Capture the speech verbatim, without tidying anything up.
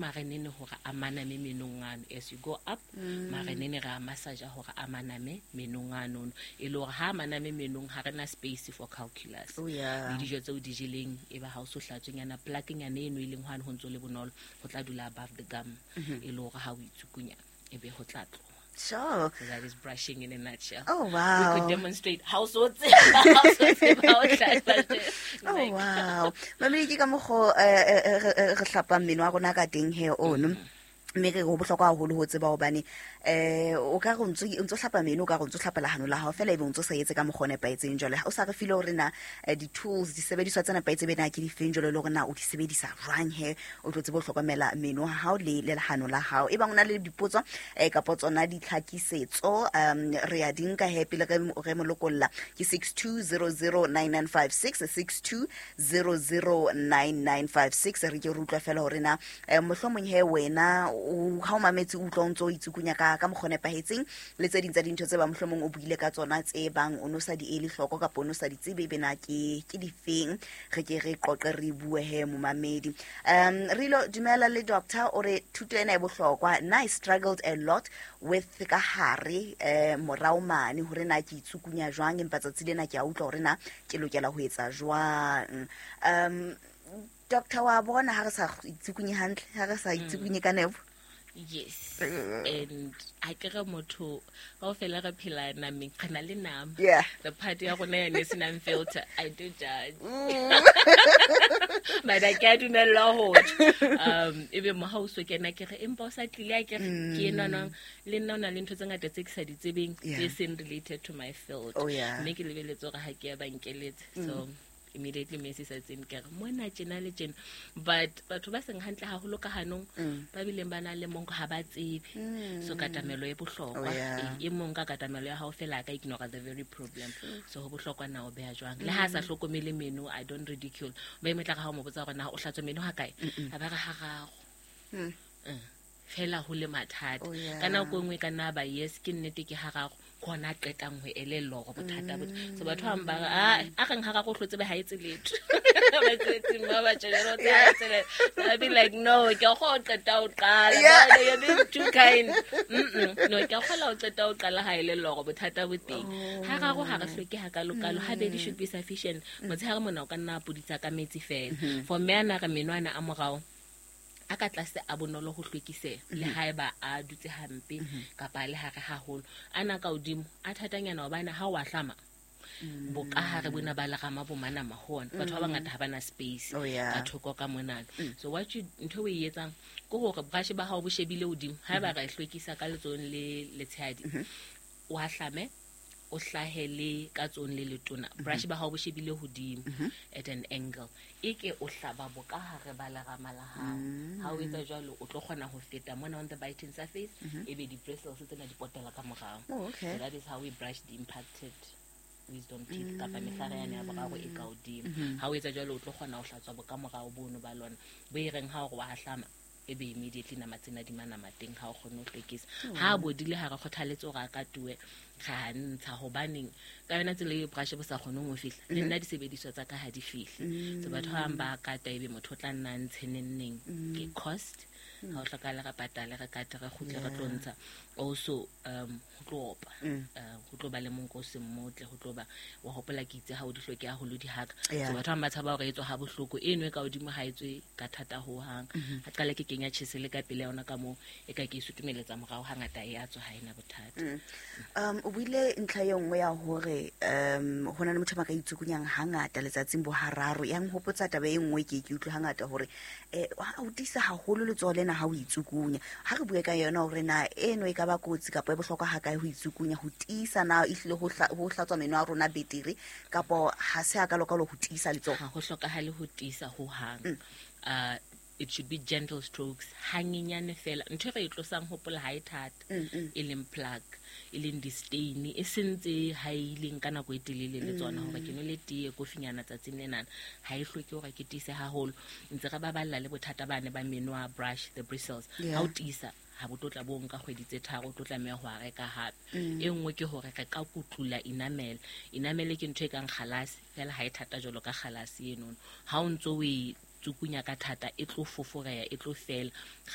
Marenene hore a maname menong ano. As you go up, marenene re a massage hore a maname menong ano. E le hore ha maname menong ha rena space for calculus. Oh, yeah. Le dijo tseo di jeleng e ba ha o so hlatswenyana plaque-nyana eno e leng hwane ho ntso le bonolo ho tla dula above the gum. E le hore ha o itsukunya e be ho tla tloha. Sure. So that is brushing in a nutshell. Oh, We wow. could demonstrate how so how so Oh, wow. Mamedi ke ka mokgo eh, eh, eh, re re hlapang meno a rona ka teng he ono. Mme re ho bohlokwa haholo ho tseba hobane eh o ka re o ntso o ntso hlapa meno o ka re o ntso hlapa lehano la hao fela ebe o ntso sa etse ka mokgwa o nepahetseng. Jwale o sa re file hore na eh, di-tools disebediswa tse nepahetseng be na ke difeng jwale le hore na o di sebedisa jwang he o tlo tsebe ho hlokomela meno a hao le le lehano la hao. E bang o na le dipotso eh, kapo tsona ditlhakisetso um re a di nka he pele re re mo lokolla ke six two zero zero nine nine five six six two zero zero nine nine five six. Re ke re utlwa fela hore na eh, mohlomong he wena o ha o mametse o utlwa o ntso o itsukunya ka ka mokgwa o nepahetseng le tse ding tsa dintho tse ba mohlomong o buile ka tsona tse bang o no sa di ele hloko kapa o no sa di tsebe ebe na ke ke difeng. Re ke re qoqe re bue he momamedi. Um re ilo dumela le doctor o re thuto ena e bohlokwa. Nna I struggled a lot with ka hare eh morao mane hore na ke itsukunya jwang, empa tsatsi lena ke a utlwa hore na ke lokela ho etsa jwang. Um doctor wa bona ha re sa itsukunye hantle, ha re sa itsukunye ka nepo. Yes. And ha ke re motho kaofela re phela nameng, re na le nama. Yeah. The part ya rona yane e senang filter, I do judge. But ha ke a dumellwa ho tjho. Um ebe mo ha o so kena ke re empa o sa tlile a ke re ke enwa le nna o na le ntho tse ngata tse ke sa di tsebeng Yeah. tse seng related to my field. Oh, yeah. Mme ke lebeletse hore ha ke ya ba nkeletse. So immediately me se sa tsene ke re mona tjena le tjena. But batho ba seng hantle haholo ka hanong ba bileng ba na le monko ha ba tsebe. So katamelo e bohlokwa. Oh, yeah. E, e mong ka katamelo ya hao fela a ka ignore the very problem. So ho bohlokwa na o beha jwang. Le ha a sa hlokomele meno, I don't ridicule. Ba e tla re ha o mo botsa hore na o hlatswa meno ha kae? A ba re hararo. Mm. Eh, fela ho le mathata. Oh, yeah. Ka nako e nngwe e ka nna ba yes ke nnete ke hararo ke hona a qetang ho elellwa hore bothata bo. So batho ba bang ba re ah a reng hararo o hlotse be ha etse letho. Ba tswetseng ba ba tjena o tse ha etse letho. So I be like no ke a kgona ho qeta ho qala. Yeah. Ba you're being too kind. Mm-mm. No ke a kgona ho qeta ho qala ha elellwa hore bothata bo teng. Hararo ha re hloke hakalokalo, habedi should be sufficient. Motshehare mona o ka nna a puditsa ka metsi fela. For mme ana re meno ana a morao a ka tlase a bonolo ho hlwekiseha le haeba a dutse hampe kapa le hare haholo. Ana ka hodimo a thatanyana hobane ha o a hlama bokahare bona ba lerama bo manama ho ona. Batho ba bangata ha bana space Oh, yeah. ka thoko ka monana. So what you ntho e etsang ke hore brush ba hao bo shebile hodimo haeba re hlwekisa ka letsohong le letshehadi o a hlame o hlahele ka tsohong le letona brush ba hao bo shebile hodimo at an angle e ke o hlaba bokahare ba lerama la hao. Ha o etsa jwalo o tlo kgona ho feta mona on the biting surface ebe di-bristles tsena di potela ka morao. Oh, okay. So that is how we brush the impacted wisdom teeth kapa mehlare yane ya boraro e ka hodimo. Ha o etsa jwalo o tlo kgona ho hlatswa bokamorao bono ba lona bo e reng ha o re wa hlama ebe immediately nama tsena di manama teng ha o kgone ho hlwekisa. Ha a bodile ha re kgothaletse hore a ka tuwe ra ntsha hobaneng ka yona tsela e brush bo sa kgoneng ho fihla le nna disebediswa tsa ka ha di fihle. So batho ba bang ba kata ebe motho o tla nna a ntshe neng ke cost ha o hlokahale re patale re kate re kgutle re tlo ntsha. Also um ho tlo opa eh, ho tlo ba le monko o seng motle, ho tlo ba wa hopola ke itse ha o di hloke haholo di haka. Yeah. So batho ba bang ba tshaba hore e tswa ha bohloko eno e ka hodimo ha e tswe ka thata hohang. Ha qala ke kenya tjhesele ka pele ya yona ka moo e ka ke e sutumeletsa morao hangata e a tswa ha ena bothata. Um o buile ntlha e nngwe ya hore um ho na le motho ba ka itsukunyang hangata letsatsing bo hararo. Ya nhopotsa taba e nngwe ke ke utlwe hangata hore eh ha o tiisa haholo letsoho lena ha o itsukunya. Ha re bue ka yona hore na eno e ka ba kotsi kapa e bohlokwa ha kae ho itsukunya ho tiisa na ehlile ho hla-, ho hlatswa meno a rona betere kapo ha se a ka lokalo ho tiisa letsoho. Ha ho hlokahale ho tiisa hohang. Uh, it should be gentle strokes hanyenyane fela. Ntho e re e tlosang hopola ha e thata e leng plaque e leng di-stain e sentse ha e ileng ka nako e telele le tsona hore ke nwele tee kofinyana tsatsing lenana ha e hloke hore ke tiise haholo. Ntse re baballa le bothata bane ba meno a brush the bristles. Yeah. Ha o tiisa ha bo tlo tla bo nka kgwedi tse tharo o tlo tlameha ho a reka hape. E nngwe ke hore re ka kutlula enamel. Enamel ke ntho e kang kgalase fela ha e thata jwalo ka kgalase enono. Ha o ntso o e tsukunya ka thata e tlo foforeya e tlo fela. Re